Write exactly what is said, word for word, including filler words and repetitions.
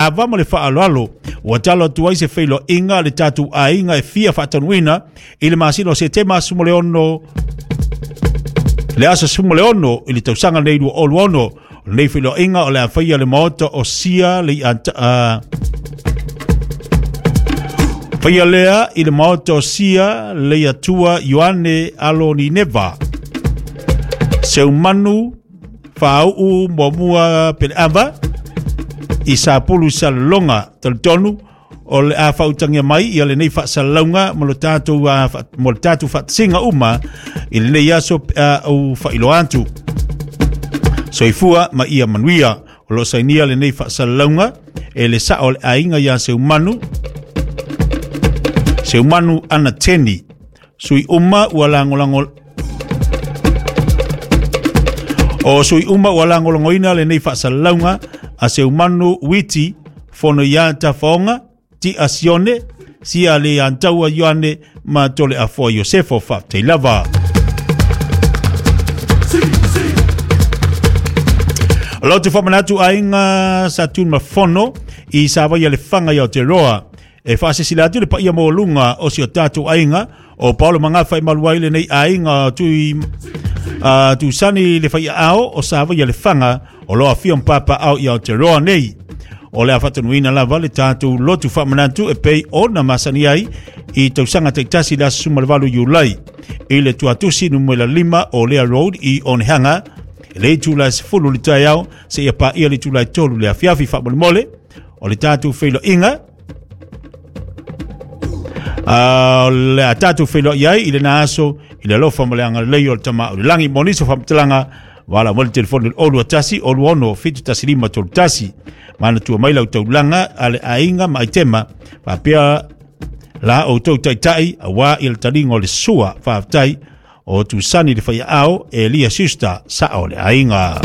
Ava ma le faaaloalo ua talo atu ai se feiloaiga le tatou aiga e fia faatanuina i le masina o Setema aso mo le ono le aso sefulu ma le ono i le tausaga nei lua olu ono. O lenei feiloaiga o le a faia le maota o Sia le uh, faia lea i le maota o Sia le Atua Ioane alo Nineva Seumanu Fauu Muamua Peleava i Sapulu Salonga. Talitonu o le a fautagia mai ia lenei faasalalauga mo lo tatou mo le tatou faatasiga uma i lenei aso au faailoa atu. Soifua ma ia manuia. O loo sainia lenei faasalalauga e le sao o le aiga ia Seumanu Seumanu Anateni sui uma ua lagolago o sui uma ua lagolagoina lenei faasalalauga a Seumanu Witi fono ia tafaoga ti asione sia le antaua Ioane ma tole afoa Iosefo. Faafetai lava. O lo te whamanatu aiga sa tun mafono i sa vai le whanga i Aotearoa. E whaasesila atu le paia mōlunga o si o tātou aiga o Paolo Mangafa e maluai lenei aiga tui uh, tusani le whaia ao o sa vai le whanga o loa fia mpapa au i Aotearoa nei. O le afatanuina lava le tātou lotu whamanatu e pei ona masani ai i tausaga taitasi le aso sefulu ma le valu Iulai i le tuatusi numera lima o Lea Road i Onehanga le itula sefulu le taeao seia paia le itula e tolu le afiafi. Faamolemole o le tatou feiloaiga o le a tatou feiloai ai i lena aso i le alofa ma le agalelei o le Tama o le Lagi. Mo nisi o faamatalaga wala mo le telefoni olu tasi olu ono fitu tasi lima tolu tasi. Manatua mai lau taulaga a le aiga ma aitema faapea la outou taitai auā i le taliga o le sua. Faafetai o tusani le faiaao Elia Sister sao le aiga.